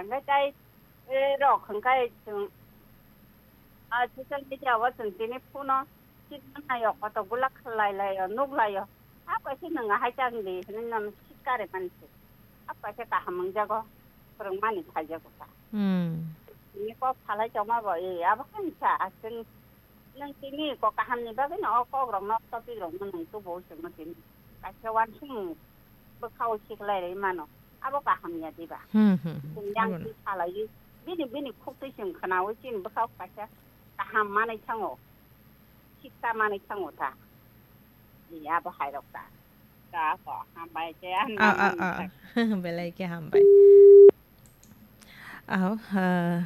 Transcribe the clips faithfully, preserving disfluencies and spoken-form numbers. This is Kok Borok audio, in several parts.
Hwnkhe tai, eh, rok hwnkhe chwng, ah, social media o chwng tini phone o chini naio, koto gula khlai laio, nuk laio. A kaisa nwng ahai chang di hwnwi nono sikari mani se. A kaisa kaham wngjago, phwrwngmani phaijago ta. Hmm. Tini kok salai tongma bo, eh, abo khe wngkha, chwng Nwng tini kok kahamni bagwino o kokrokno, topic rokno nwng tubuo chwngno tini. Kaisa uansukmung bwkhao siklai rwi mano. Abo kaham ya diba? Hmm, hmm, hmm. Chwng yang Abono. Twi salaiwi bini, bini khuktwi chwng khwnaui chini bwkhao kaisa kaham manwi thango. Siksa manwi thango ta. Ni abo hairok ta. Ta ko hambai te ang Ah, ah, nang ah. Belai khe hambai. Aho, ah,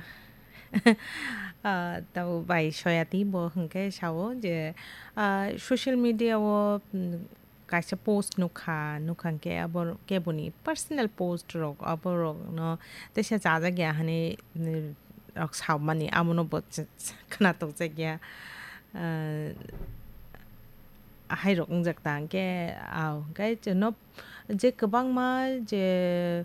ah, tabo bai soyati bo hwnkhe sao je, ah, social media o, mm, kaisa post nukha, nukha hwnkhe abo keboni personal post rok, abo rokno teisa chajak ya hwnwi, mm, rok saumani, amono bo ch-, ch-, khwnatok jak ya. Ah, hai rok wngjak ta hwnkhe, ah, hwnkhe chwngno je kwbangma je,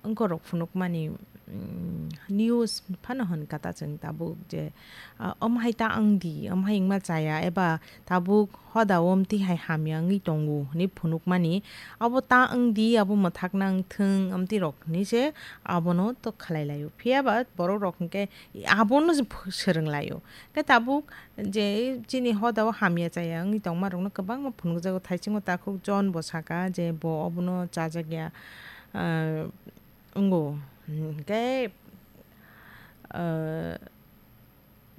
wngkorok phunukmani, mm, news phano hwn kata chwng tabuk je, ah, omo hai ta wng di, omo hai wngma chaya, eba tabuk hoda o omtwi hai hamya wngwi tongo hwnwi phunukmani, abo ta wng di, abo mwthakna wng thung, omtwi rok hwnwi se abono to khlai laio. Phiya ba borok rok hwnkhe abono se ph-, swrwng laio. Khe tabuk je chini hoda o hamya chaya wngwi tongma rokno kwbangma phunukjago, thaisingo takhuk John bo saka je bo obono chajak ya. Ah, wngo. Hwnkhe, ah,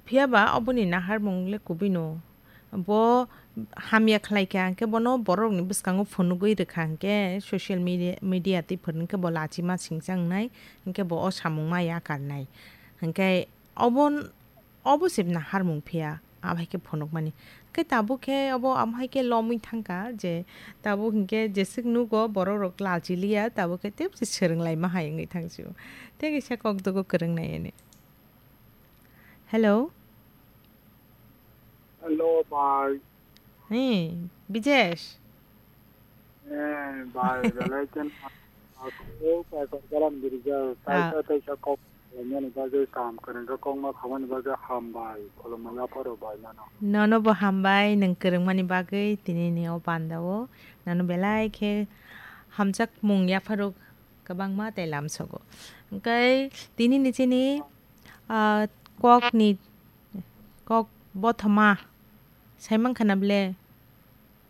phiya ba oboni naharmung le kubui no. Bo hamya khlai kha, hwnkhe bono borok ni bwskango phunugwi rwkha, hwnkhe social media, media twi phwrwng khe bo lachima singcha wngnai, hwnkhe bo o samung ma yakarnai. Hwnkhe obo Obo se naharmung phiya, abo hai khe phunukmani. Khe tabuk khe obo amo hai khe lomwi thangkha je tabuk hinkhe jeswk nugo borok rok lachiliya, tabuk khe tebse swrwng laima hai wngwi thangsio. Tei kaisa kok dogo kwrwng nai ani. Hello. Hello, bhai. Hey, Bijesh. Eh, bai, belai ken aku pai kok jalan girja, Ah. Taisa, taisa kok, mani bagwi kam kwrwng khe kokma khamani bagwi hambai, khulumma yapharo bai mano. Nono bo hambai, nwng kwrwngmani bagwi tini ni o pandao. Nono belai khe hamjakmung yapharo kwbangma tei lamsogo. Hwnkhe tini ni chini, ah, kokni, kok bothoma. Sai mankha na ble?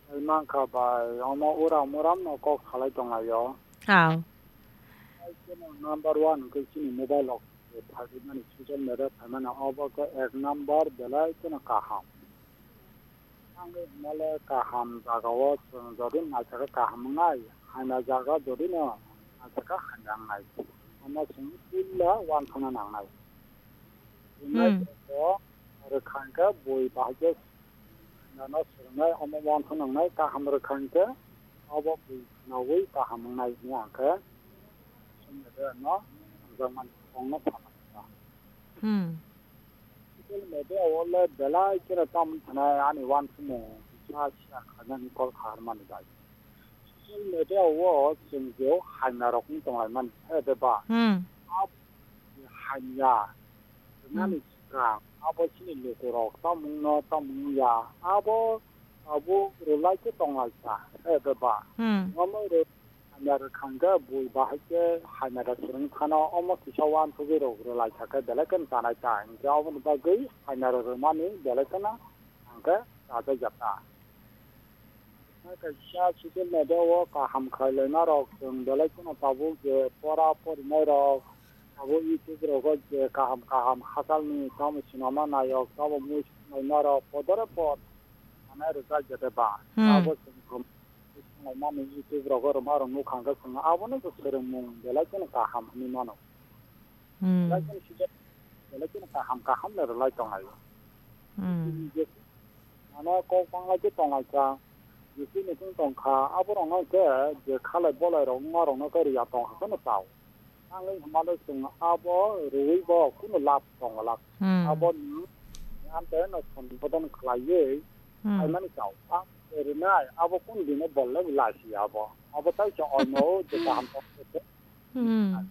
Sai mankha bai, omo uram uram no kok salai tonglaio. Aw. Ai khe no number one hwnkhe chini mobile rok phaimani, social media phaimani, obo khe ek number belai kheno kaham. Ang hwnmale kaham jagao chwng jodi naisakhe kaham wngnai, hamya jaga jodi no naisakhe hamya wngnai. Omo chwng puila uansukna nangnai. Hmm. Wngnai bo rwkha hwnkhe bui bahai khe Nano swrwngnai omo uansuk nangnai kaham rwkha hinkhe, obo bui khwnaui kaham wngnai hwnwi ang khe social media no hamjakmani kokno sana kha. Hmm. Social media o le belai kheno tamoni thanai ani uansukmung sa share khainani kok kha hwnmani bai. Social media o chwng je hamya rok wng tonglaimani, he de ba? Hmm. Abo hamya rwnani Hmm. swkang, abo chini lukurok tamungno tamung ya, abo tabuk rwlai khe tonglaisa, he de ba? Hmm. Omo rw-, hamya rwkha hwnkhe bui bahai khe hamya da swrwng phano omo kisa uansugwi rok rwlaisa khe belai kheno chanai ta, hinkhe oboni bagwi hamya rw-, rwmani belai kheno ang khe chajakya ta. Kaisa social media o kaham khlai laima rok chwng belai kheno tabuk je pora porinai rok tabuk YouTube rogo je kaham kaham hachal ni tamo sinama nayok tamo mui swnglai ma rok podore pod manai rwjak jete ba Hmm. Abo chwng rom swnglai mani YouTube rogo rwma rok nukha hwnkhe chwng abono bo swrwngmung belai kheno kaham hinwi mano. Hmm. Belai kheno sijak, belai kheno kaham kaham le rwlai tonglai o. Hmm. Mane kok bangla khe tonglaisa, je chini thung tongkha, aborokno khe je khalai bolai rok wngma rokno khe riya tongkha kheno chao. Ang wng hwnmale chwng abo rwui bo kunu lab tongo lab. Hmm. Abo ni amte no sombodon khlaiwi Hmm. khaimani chao. Ang rwnai abo kunu dino bolle lasi abo. Abo tai cha oimo je kaham tong khe. Hmm.